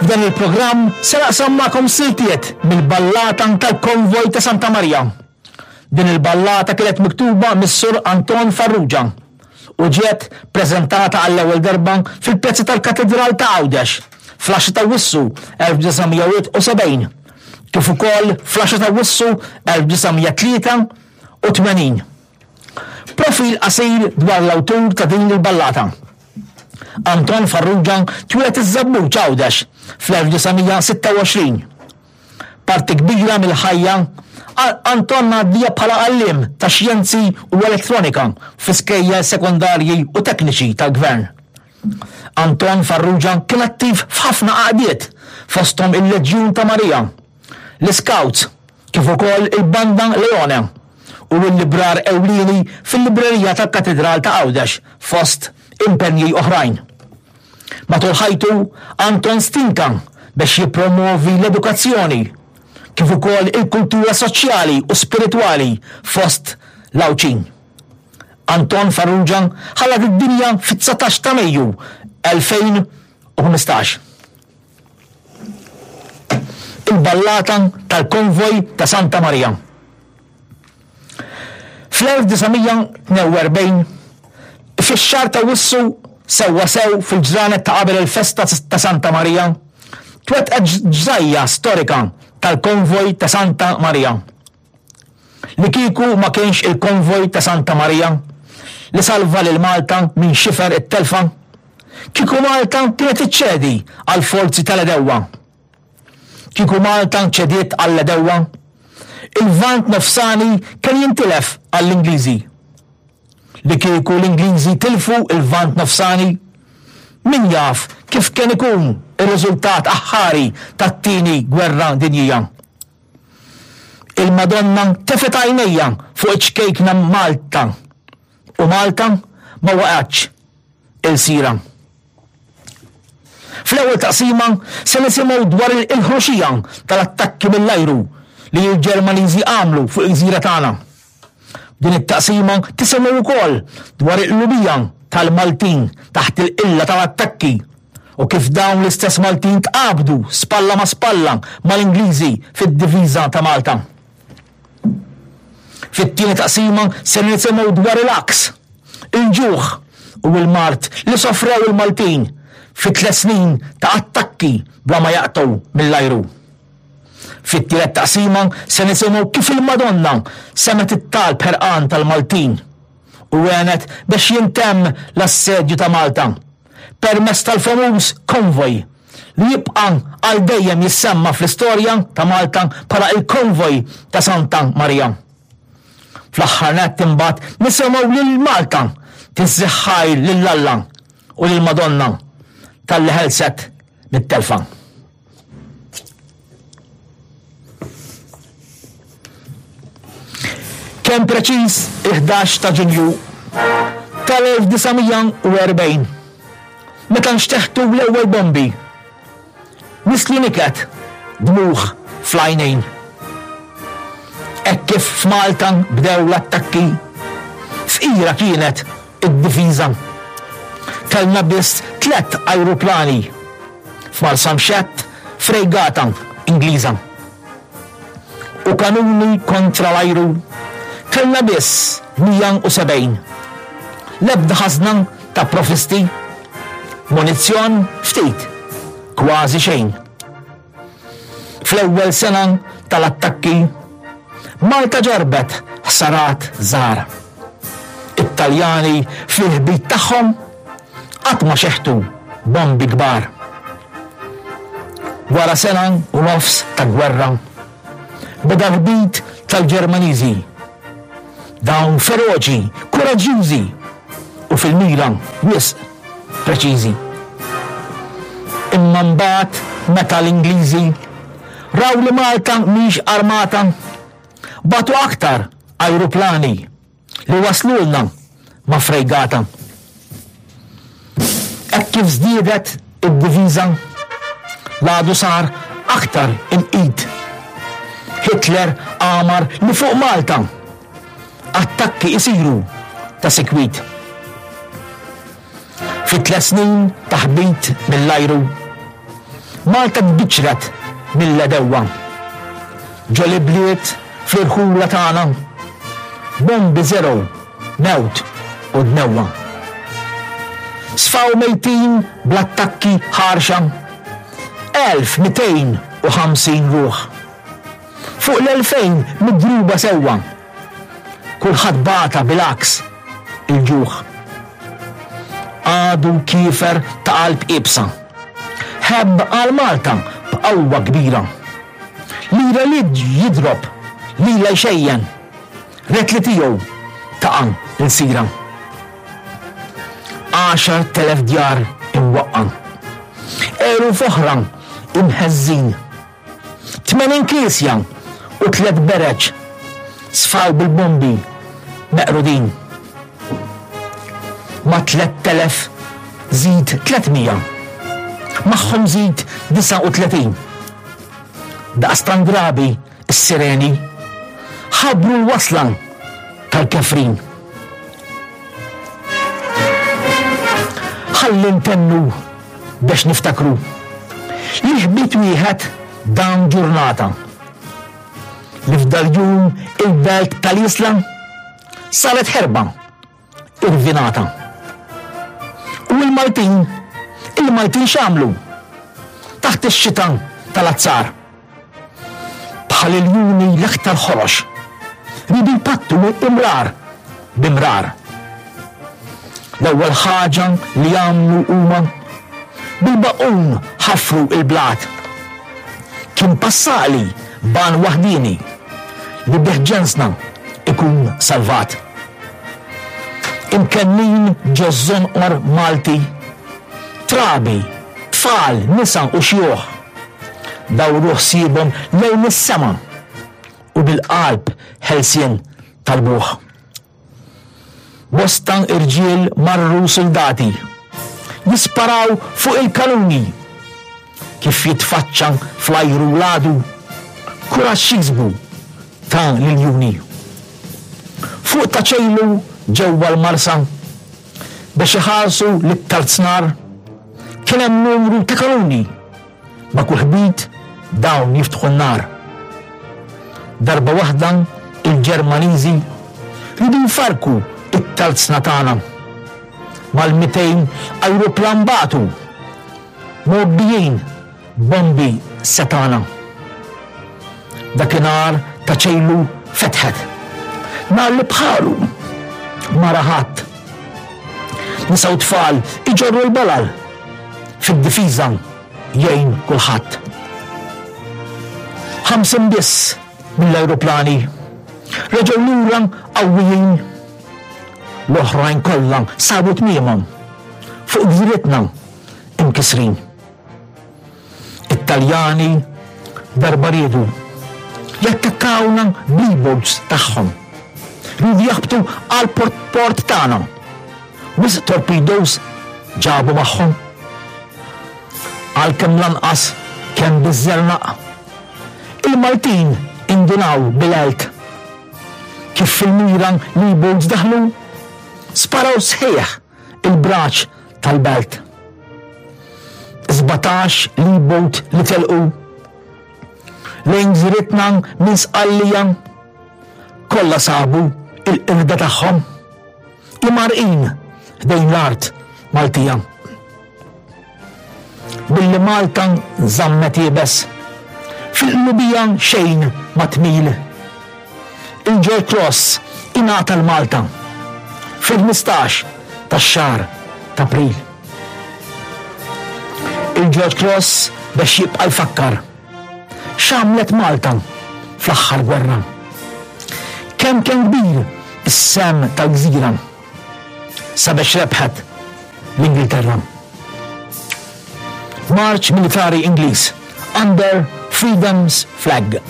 F'dan il-programm se naqsam magħkom siltiet mill-ballata tal-Konvoj ta' Santa Marija. Din il-ballata kienet miktuba mis-Sur Anton Farrugia u ġiet preżentata għall-ewwel darba fil-Pjazza tal-Katidral ta' Għawdex fl-10 ta' Awwissu 1971 kif ukoll fl-10 ta' Awwissu 1983. Profil qasir dwar l-awtur ta' din il-ballata. Anton Farrugia twieled iż-Żebbuġ Għawdex fl-1926. Parti kbira mill-ħajja Anton għaddieha bħala għalliem ta' xjenzi u elettronika fi skejjel sekondarji u tekniċi tal-Gvern. Anton Farrugia kien attiv f'ħafna għaqdiet fosthom il-Leġjun ta' Marija, l-Iscouts kif ukoll il-Banda Leone u l-librar ewlieni fil-librerija tal-Katidral ta' Għawdex fost impenji oħrajn. Matul ħajtu, Anton stinka biex jippromwovi l-edukazzjoni, kif ukoll il-kultura soċjali u spiritwali fost l-Għawdxin. Anton Farrugia ħalla d-dinja fit-19 ta' Mejju 2015. Il-ballata tal-Konvoj ta' Santa Marija. Fl-1942, fix-xahar ta' Wissu sewwasew fil-ġranet ta' qabel il-festa ta' Santa Marija, twettqet ġrajja storika tal-Konvoj ta' Santa Marija. Li kieku ma kienx il-Konvoj ta' Santa Marija li salva lil Malta minn xifer it-telfa, kieku Malta kienet iċċedi għall-forzi tal-għedewwa. Kieku Malta ċediet għall-għedewwa, il-Lvant Nofsani kien jintilef għall-Ingliżi. Li kieku l-Ingliżi tilfu l-Lvant Nofsani, min jaf kif kien ikun ir-riżultat aħħari tat-Tieni Gwerra Dinjija. Il-Madonna tefgħet għajnejha fuq iċ-ċkejkna Malta u Malta ma waqgħetx ilsira. Fl-ewwel taqsima se nisimgħu dwar il-ħruxija tal-attakki mill-ajru li l-Ġermaniżi għamlu fuq il-gżira tagħna. Din it-taqsima tisimgħu wkoll dwar il-qlubija tal-Maltin taħt il-qilla tal-attakki u kif dawn l-istess Maltin tqabdu spalla ma' spalla mal-Ingliżi fid-difiża ta' Malta. Fit-tieni taqsima se nisimgħu dwar il-għaks, il-ġuħ u l-mard li sofrew il-Maltin fi tliet snin ta' attakki bla ma jaqtgħu mill-ajru. Fit-tielet taqsima se nisimgħu kif il-Madonna semgħet it-talb ħerqan tal-Maltin u għenet biex jintemm l-assedju ta' Malta permezz tal-famuż konvoj li jibqa' għal dejjem jissemma fl-istorja ta' Malta bħala il-Konvoj ta' Santa Marija. Fl-aħħar nett imbagħad nisimgħu lil Malta tiżżih ħajr lil Alla u lil Madonna talli ħelset mit-telfa. Kemm preċiż il-11 ta' Ġunju tal-1940, meta nxteħtu l-ewwel bombi, nislu niket dmugħ fl-għajnejn. Hekk kif f'Malta bdew l-attakki, fqira kienet id-difiża. Kellna biss tlett ajruplani f'Marsamxett frejgata Ingliża. U kanuni kontra l-ajru kellna biss 170. L-ebda ħażna ta' provvisti, munizzjon ftit, kważi xejn. Fl-ewwel sena tal-attakki, Malta ġarrbet ħsarat żgħar. It-Taljani fl-ħbit tagħhom qatt ma xeħtu bombi kbar. Wara sena u nofs ta' gwerra, beda l-ħbit tal-Ġermaniżi. Dawn feroċi, kuraġġjużi u fil-mira wisq preċiżi. Imma mbagħad meta l-Ingliżi raw li Malta mhix armata, bagħtu aktar ajruplani li waslulna ma' frejgata. Hekk kif żdiedet id-diviża, l-għadu sar aktar imqit. Hitler amar li fuq Malta attakki isiru ta' sikwit. Fi tliet snin ta' ħbit mill-ajru, Malta tbiċċret mill-għedewwa. Ġo l-ibliet fl-irħula tagħna, bombi żergħu mewt u dnewwa. Sfaw mejtin bl-attakki ħarxa 1250 ruħ. Fuq l-2000 midruba sewwa. Kulħadd bata bil-għaks il-ġuħ. Għadu kiefer ta' qalb iebsa. Ħebb għal Malta b'qawwa kbira. Lira li jidrob, lilha jxejjen. Ried li tiegħu taqa' lsira. 10,000 djar imwaqqa'. Eluf oħra imheżżin. 80 knisja u tlett bereġ sfaw bil-bombi meqrudin. Ma' 3,000 żid 300. Magħhom żid 39. Daqstant drabi s-sireni ħabbru l-wasla tal-kefrin. Ħalli ntennu biex niftakru li ħbit wieħed dan ġurnata li f'dal-jum il-belt tal-Isla saret ħerba irvinata. U l-Maltin, il-Maltin x'għamlu? Taħt ix-xita tal-azzar. Bħal iljuni l-aktar ħorox. Ridu jpattu imrar b'imrar. L-ewwel ħaġa li għamlu huma bil-baqqun ħafru il-blat. Kien passali ban waħdini li bih ġensna ikun salvat. Imkennin ġo żonqor Malti, trabi, tfal, nisa u xjuħ. Dawru ħsiebhom lejn is-sema u bil-qalb ħelsien talbuh. Bosta irġiel marru suldati jisparaw fuq il-kanuni kif jitfaċċa fl-ajru l-għadu kuraġġ jiksbu ta' l-iljuni. Fuq ta' ċejlu ġewwa l-Marsa biex iħarsu lit-tarznar kien hemm numru ta' kanuni Ma' kull ħbit dawn jiftħu n-nar. Darba waħda il-Ġermaniżi riedu jfarrku t-tarzna tagħna. Mal-200 ajruplan bagħtu, mgħobbijin b'bombi setgħana. Dakinhar ta' ċejlu fetħet. Nar li bħalu ma ra ħadd. Nisa u tfal iġorru l-balal fid-difiża jgħin kulħadd. 50 biss mill-ajruplani reġgħu lura qawwijin. L-oħrajn kollha sabu tmiemhom fuq gżiritna imkisrin. It-Taljani darba riedu jattakkawna bl-E-boats tagħhom. Riedu jaħbtu għal port tagħna. Wisq torpedoes ġabu magħhom. Għalkemm lanqas kemm biż-żernaq. Il-Maltin indunaw bil-għelt. Kif fil-mira l-E-boats daħlu, sparaw sħiħ il-braċ tal-belt. 17 l-E-boat li telqu lejn gżiritna minn Sqallija kollha sabu il-qirda tagħhom imgħarrqin ħdejn l-art Maltija. Billi Malta żammet iebes, fil-qlubija xejn ma tmil. Il-George Cross ingħata 'l Malta fil-15 tax-xahar t'April. Il-George Cross biex jibqa' jfakkar x'għamlet Malta fl-aħħar gwerra. Kemm kien kbir is-sehem tal-gżira sabiex rebħet l-Ingilterra. Marċ militari Ingliż under Freedom's Flag.